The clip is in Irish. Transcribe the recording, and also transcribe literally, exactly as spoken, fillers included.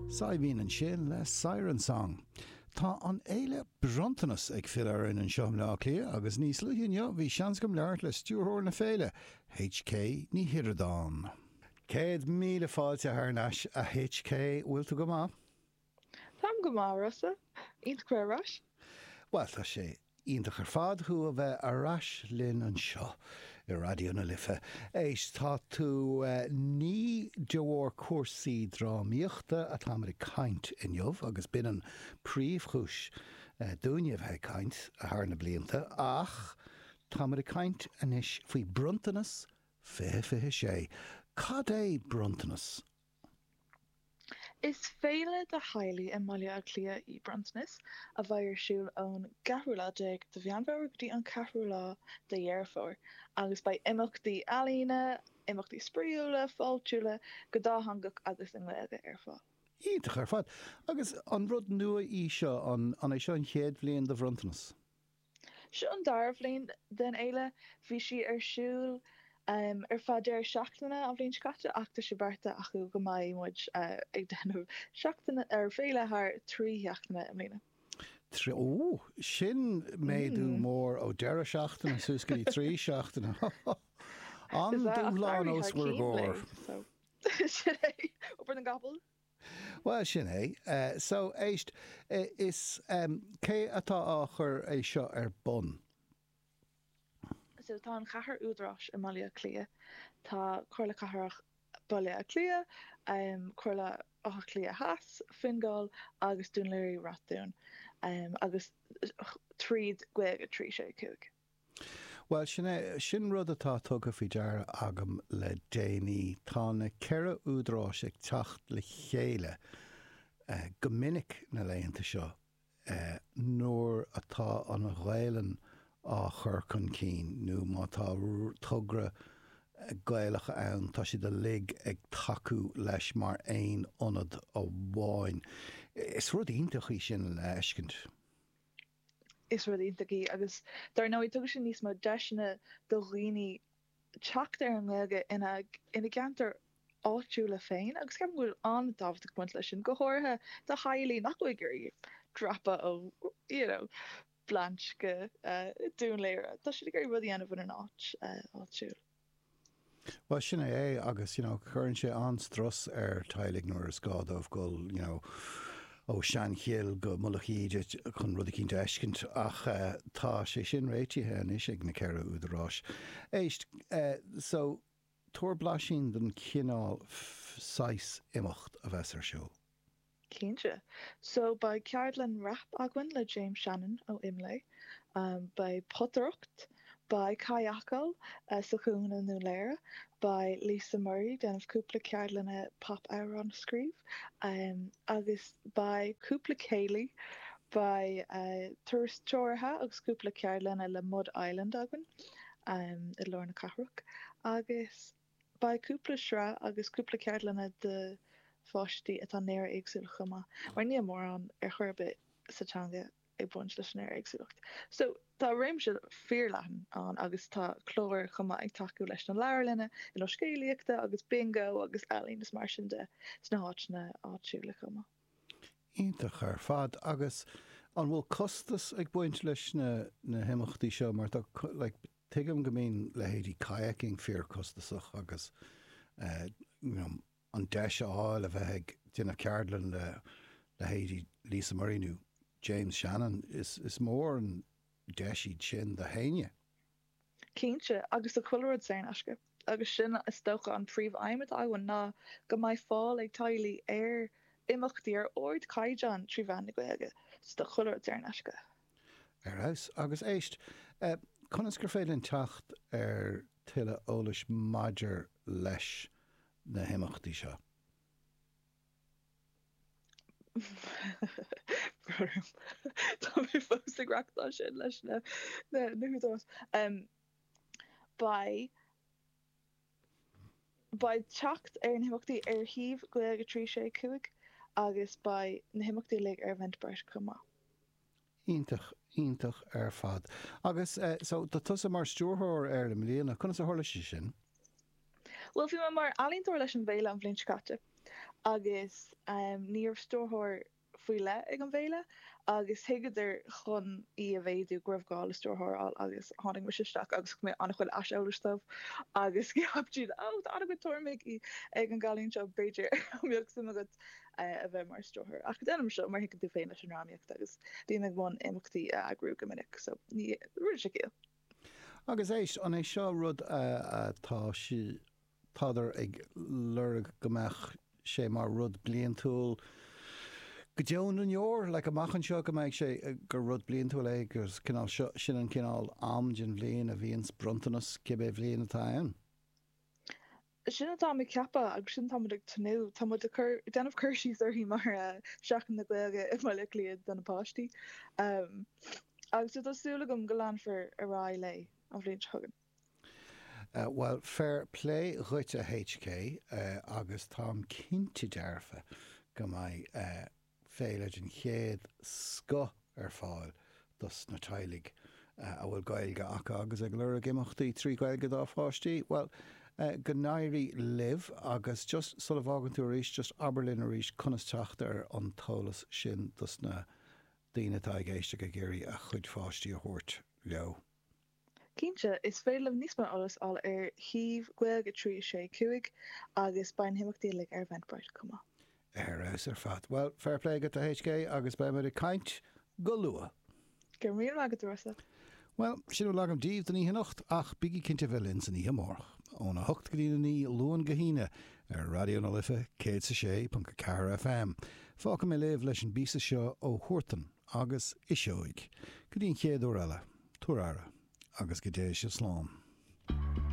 Saidhbhín ansin le Siren Song. Tá an fhéile Bronntanas ag filleadh orainn anseo i mBleá Cliath agus níos luaithe inniu bhí seans agam labhairt le stiúrthóir na féile, HK Ní Shioradáin. Céad míle fáilte thar n-ais a HK, bhfuil tú go maith? Táim go maith, Rossa. Iontach bheith ar ais. Bhuel, tá sé iontach ar fad thú a bheith ar ais linn anseo i Raidió na Life. Éist, tá tú, ní de bharr cúrsaí drámaíochta atáimid ag caint inniu, agus b'in an príomhchúis dúinne a bheith ag caint thar na blianta, ach táimid ag caint anois faoi Bronntanas fiche fiche sé. Cad é Bronntanas? Is féile do theaghlaigh i mBaile Átha Cliath í Bronntanas, a bheidh ar siúl ón gceathrú lá déag de Mheán Fómhair go dtí an ceathrú lá de Dheireadh Fómhair, agus beidh imeachtaí ealaíne, imeachtaí spraíúla, fáiltiúla, go dátheangach agus i nGaeilge ar fáil. Iontach ar fad. Agus an rud nua í seo, an é seo an chéad bhliain do Bhronntanas? Seo an dara bhliain den fhéile. Bhí sí ar siúl ar feadh deireadh seachtaine an bhliain seo caite ach tá sé beartaithe acu go mbeidh muid ag déanamh seachtaine ar féile thar trí sheachtaine i mbliana. Trí, ó, sin méadú mór ó deireadh seachtaine suas go dtí trí seachtaine. An dúshlán os bhur gcomhair. Sin é, obair na gcapall. Bhuel, sin é. So, éist, is cé atá á chur é seo ar bun? So, tá an cheathair údaráis i mBaile Átha Cliath. Tá Comhairle Cathrach Baile Átha Cliath, Comhairle Átha Cliath Theas, Fine Gall agus Dún Laoghaire-Rath Dúin, agus tríd Gaeilge trí sé cúig. Bhuel, sin é, sin rud atá tugtha faoi deara agam le déanaí. Tá na ceithre údaráis ag teacht le chéile go minic na laethanta seo nuair atá an Ghaelainn á chur chun cinn nó má tá togra Gaelach ann, tá siad uilig ag tacú leis mar aon ionad amháin. Is rud iontach í sin le fheiscint. Is rud iontach í agus dar ndóigh tugann sé níos mó deiseanna do dhaoine teacht ar an nGaeilge ina ina gceantar áitiúla féin agus ceapaim go bhfuil an-tábhacht ag baint leis sin, go háirithe do theaghlaigh nach bhfuil ag iarraidh dreapadh ó you know Blanche go Dún Laoghaire. Tá siad ag iarraidh rud a dhéanamh ina n-áit áitiúil. Bhuel, sin é é agus, you know, cuireann sé an-strus ar teaghlaigh nuair is gá dóibh dul, you know, ó Seanchill go Mullach Íde chun rud eicínt a fheiscint ach tá sé sin réitithe anois ag na ceithre údaráis. Éist, so, tabhair blaisín den chineál saghas imeacht a bheas ar siúl. Cinnte. So beidh ceardlann rap againn le James Shannon ó IMLÉ, beidh potaireacht, beidh cadhcáil sa chuan i nDún Laoghaire, beidh Lisa Murray ag déanamh cúpla ceardlanna pop-amhrán a scríobh agus beidh cúpla céilí, beidh turas treoraithe agus cúpla ceardlanna le Mud Island againn i lár na cathrach agus Beidh cúpla sraith agus cúpla ceardlanna do pháistí atá néara-éagsúil chomh maith, mar níl mórán ar chor ar bith sa teanga ag baint leis an néara-éagsúlacht. So, tá réimse fíorleathan ann agus tá cláir chomh maith ag tacú leis na leabharlanna ar nós scéalaíochta agus bingo agus ealaín is mar sin de sna háiteanna áitiúla chomh maith. Iontach ar fad. Agus an bhfuil costas ag baint leis na na himeachtaí seo mar tá like tuigim go mbíonn leithéidí kayaking fíorchostasach agus you know an deis a fháil a bheith ag déanamh ceardlann le leithéidí Lisa Murray nó James Shannon, is is mór an deis iad sin do éinne. Cinnte, agus tá chuile rud saor in aisce agus sin is dócha an príomh-aidhm atá againn ná go mbeidh fáil ag teaghlaigh ar imeachtaí ar ardchaighdeán trí mheán na Gaeilge. So tá chuile rud saor in aisce. Ar fheabhas. Agus éist, conas gur féidir linn teacht ar tuilleadh eolais maidir leis na himeachtaí seo? Tá mé fós ag reachtáil sin leis na húdaráis. Beidh Beidh teacht ar na himeachtaí ar shuíomh Gaeilge trí sé cúig agus beidh na himeachtaí uilig ar Eventbrite chomh maith. Iontach, iontach ar fad. Agus so, tá tusa mar stiúrthóir air i mbliana, conas a tharla sé sin? Bhuel, bhí mé mar ealaíontóir leis an bhféile an bhliain seo caite agus ní raibh stiúrthóir faoi leith ag an bhféile agus thuigeadar chun í a mhéadú go raibh gá le stiúrthóir a fháil agus tháinig mise isteach agus thug mé an-chuid aiseolais dóibh agus cheap siad ó tá an-chuid tuairimí ag an gcailín seo b'fhéidir an mbeadh suim agat a bheith mar stiúrthóir ach déanaim seo mar thuigeann tú féin leis an drámaíocht agus bím i mbun imeachtaí a eagrú go minic so ní rinne sé ciall. Agus éist, an é seo rud atá sí tádar ag lorg go mbeadh sé mar rud bliantúil go deo na ndeor, like amach anseo go mbeidh sé gur rud bliantúil é agus cineál seo sin an cineál am den bhliain a bhíonn bronntanas cibé bhliain atá ann. Sin atá mé ceapadh agus sin táimid ag tnúth Tá muid ag cur déanamh cur síos uirthi mar Seachtain na Gaeilge i mBaile Átha Cliath do na páistí. Um, agus tá súil agam go leanfar ar aghaidh léi an bhliain seo chugainn. Uh, well, fair play dhuit a HK uh, agus táim cinnte dearfa go mbeidh uh, féile den chéad scoth ar fáil dos na teaghlaigh uh, a bhfuil Gaeilge acu agus ag lorg imeachtaí trí Ghaeilge dá bpáistí. Well, uh, go n-éirí libh agus just sula bhfágann tú arís just abair linn arís conas teacht ar an t-eolas sin dos na daoine atá ag éisteacht ag iarraidh a chuid páistí a thabhairt leo. Cinnte, is féidir libh níos mó eolas a fháil ar shuíomh Gaeilge trí sé cúig agus beidh na himeachtaí uilig ar Eventbrite chomh maith. Ar fheabhas ar fad. Well, fair play go HK agus beimid ag caint go luath. Go raibh míle maith agat Rossa. Well, sin a bhfuil agam daoibh don oíche anocht ach bígí cinnte bheith linn san oíche amárach. Óna hocht go dtí a naoi Luan go hAoine ar Raidió na Life céad a sé ponc ceathair FM. Fágfaidh mé libh leis an bpíosa seo ó Huartan agus Iseoig. Go dtí an chéad uair eile, tabhair aire agus go dté sibh slán.